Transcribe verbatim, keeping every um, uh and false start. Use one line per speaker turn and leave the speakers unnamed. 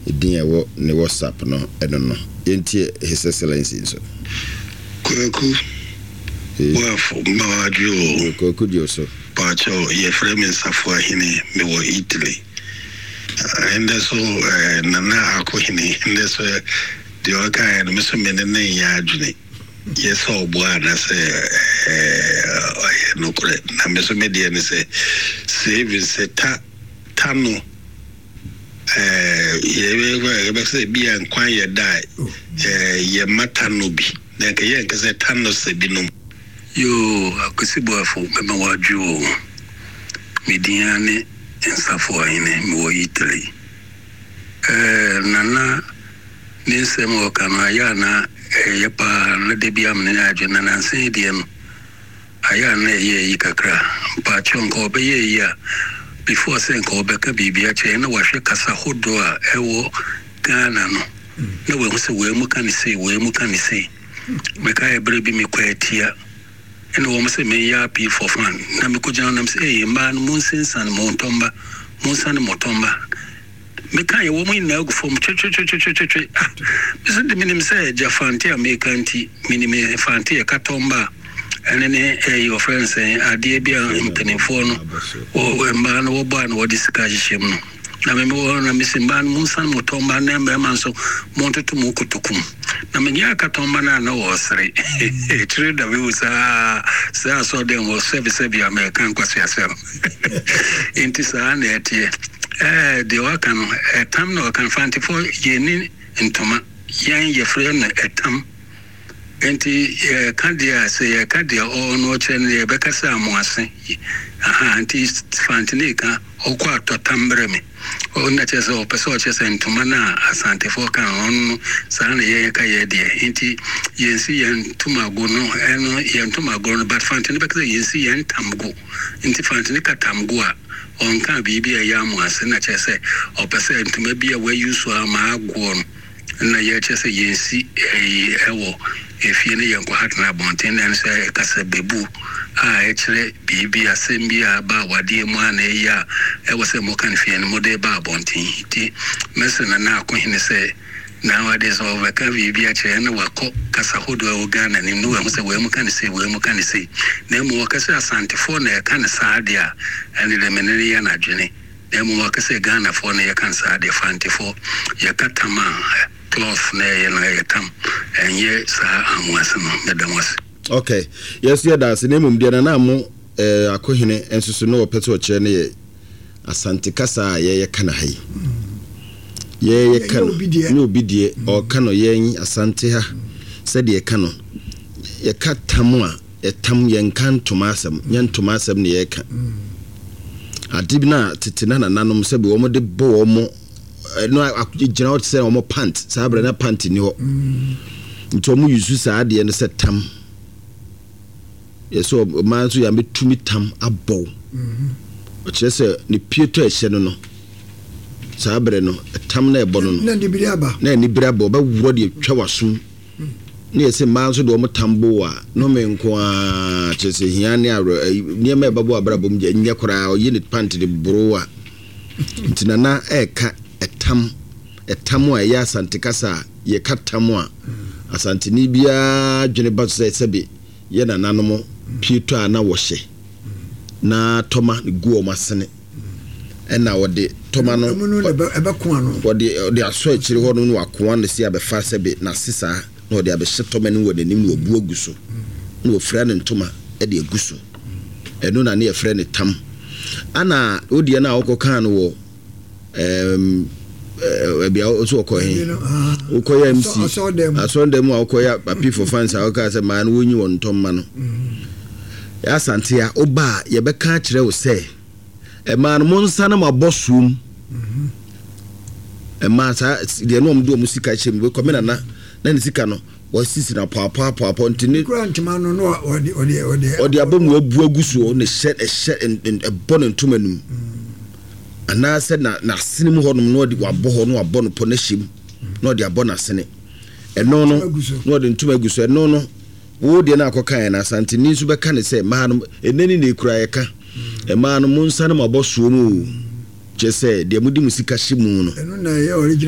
Ɛdin a ɛwɔ ne WhatsApp no ɛno no. Yɛntie His Excellency nso.
Kwaku Boafo, mmawadwo o.
Kwaku di o so.
Paakyɛw, yɛfrɛ me Nsafo Ahene, mewɔ Italy. Ɛndɛ so eh, Nana Akohene, ndɛ so deɛ ɔkaeɛ no, me so me ne ne nyɛ adwene. Yɛ sɛ ɔboa anasɛ ɔyɛ nokorɛ. Na me so me deɛ ne sɛ saving sɛ ta ta no yɛbɛ sɛ bi a nkwan yɛ da a yɛma ta no bi na nka yɛnka sɛ ta no sɛ binom.
Yo, Akwasi Boafo, mɛma wadwo o. Me din ara ne Nsafo Ahene, mewɔ Italy. Eh, Nana ne nsɛm a ɔka no ayɛ a na ɛyɛ paa na da bi amene ne adwene na nansa yi deɛ no ayɛ a na ɛyɛ ayi kakra. Mpaakyɛw, nka ɔbɛyɛ ayi a before sɛ nka ɔbɛka biribi akyerɛ na wahwɛ kasa hodoɔ a ɛwɔ Ghana no na wahu sɛ wei mu ka ne sei, wei mu ka ne sei. Meka yɛ berɛ bi mekɔ Atia ɛna wɔn sɛ meyɛ appeal for fund na mekɔgyina nam sɛ ɛyɛ mmaa no monsensan mo ntɔmba, monsane mo tɔmba. Meka yɛ wɔn nyinaa gu fam twetwetwetwetwe. Ah, mesɛ de menim sɛ gya Fante a meka nti menim Fante yɛ katɔmba a ɛne ne ɛyɛ ɔfrɛ no sɛ adeɛ bi a mpanimfoɔ no wɔ mmaa no wɔbɔ a na wɔde sika hyehyɛ mu no na meme wɔ hɔ na mesi mmaa no monsane mo tɔmba na mmarima nso montoto mo kotokum na menyɛ akatɔmba no a na wɔɔsere kyerɛ da mewu saa saa asɔ dɛm wɔ sɛbesɛbe a mɛka nkwaseasɛm. Nti saa na ɛteɛ. ɛɛ deɛ waka no ɛtam na ɔka Fantefoɔ yɛni ntoma, yɛn yɛfrɛ no ɛtam. Nti yɛka deɛ a sɛ yɛka deɛ ɔno ɔkyerɛ no yɛbɛka sɛ amoase aha. Nti Fante ne ka ɔkɔ atɔ tam brɛ me ɔna kyerɛ sɛ ɔpɛ sɛ ɔkyerɛ sɛ ntoma no a Asantefoɔ ka no ɔno no saa na yɛyɛ ka yɛ deɛ. Nti yɛnsi yɛn ntomago no ɛno yɛn ntomago no, but Fante no bɛka sɛ yɛnsi yɛn ntamgo. Nti Fante no ka tamgo a ɔnka biribi a ɛyɛ amoase na kyerɛ sɛ ɔpɛ sɛ ntoma bi a wayi so ama agoɔ no na yɛkyerɛ sɛ yɛnsi ɛyi ɛwɔ efie no yɛn kɔ tena abɔnten na ɛno sɛ ɛkasa bebu a ɛkyerɛ biribi asɛm bi a aba awadeɛ mu a na ɛyɛ a ɛwɔ sɛ moka no fie no mode ba abɔnten. Nti mɛsɛ Nana Akohene sɛ na wade sɛ ɔbɛka biribi akyerɛ na wakɔ kasa hodoɔ a ɛwɔ Ghana nim na wahu sɛ wei mu ka ne sei, wei mu ka ne sei, na mmom wɔka sɛ Asantefoɔ na ɛka ne saa deɛ a ɛne dɛ mene ne yɛ n'adwene, na mmom wɔka sɛ Ghanafoɔ na yɛka ne saa deɛ. Fantefoɔ yɛka tam a cloth na ɛyɛ no ɛyɛ tam, ɛnyɛ saa amoase no. Mɛda mo ase.
Okay, yɛso yɛda ase. Na mmom deɛ Nana mo eh, Akohene nso so na wɔpɛ sɛ ɔkyerɛ no yɛ Asante kasa a yɛyɛ ka na ha yi yɛyɛ ka no ne obi deɛ ɔka no. Yɛn Asante ha sɛdeɛ ɛka no yɛka tam a ɛtam, yɛnka ntoma asɛm, nyɛ ntoma asɛm ne yɛreka. Ade bi na tete na nananom sɛbi wɔn de bɔ wɔn ɛno gyina hɔ te sɛ wɔn pant saa abirɛ na pant ni hɔ, nti wɔn yusu saa adeɛ no sɛ tam. Yɛsɛ ɔmaa nso yɛn abɛtumi tam abɔw ɔkyerɛ sɛ ne pieto a ɛhyɛ no no saa abirɛ no tam na ɛbɔ no no
na anibere aba.
Na anibere aba, ɔbɛworɔ deɛ twa w'asom ne yɛsɛ mmaa nso de wɔn tam bo a nome nko ara kyerɛ sɛ hia ne awerɛ nneɛma a ɛbɛbɔ abrabɔ mu nyɛ koraa ɔyi ne pant de boro a. Nti Nana ɛɛka ɛtam ɛtam a ɛyɛ Asante kasa a yɛka tam a Asanteni biara dwene ba so sɛ sɛbe yɛ nananom pieto a na wɔhyɛ na tɔma gu wɔn asene ɛna wɔde tɔma no wɔde wɔde asɔ akyire hɔ no na wakoa no si abɛfa sɛbe n'ase saa na wɔde abɛhyɛ tɔma no wɔ n'anim na wabu agu so na wɔfira ne ntoma de agu so. Ɛno na ne yɛfrɛ ne tam. Ana wodeɛ no a wokɔkaa no wɔ ɛɛm ɛbi a nso wɔkɔ he wokɔyɛ M C asɔredan mu a wokɔyɛ appeal for funds a wokaa sɛ maa no wɔnyi wɔn ntɔmma no, Asante a woba a yɛbɛka akyerɛ wo sɛ ɛmaa no mo nsa no mo abɔ soom ɛmaa saa deɛ no ɔmo de ɔmo sika hyɛ mu bɛkɔ me nana na ne sika no wɔsisi na pɔapɔapɔapɔ nti ne
kura ntoma no na ɔde ɔde ɔde
ɔde abɔ mu abu agu soɔ ne hyɛ ɛhyɛ ɛbɔ ne ntoma no mu anaasɛ na n'asene mu hɔnom na ɔde wabɔ hɔ na wabɔ no pɔ n'ahyɛ mu na ɔde abɔ n'asene ɛno no na ɔde ntoma agu so. Ɛno no wo deɛ no akɔka yɛn na Asanteni nso bɛka ne sɛ mmaa no ɛnɛ ni na ekura yɛka mmaa no mo nsa no mo abɔ soɔ mu o, kyerɛ sɛ deɛ mode mo sika hyɛ mu no.
Ɛno na ɛyɛ original.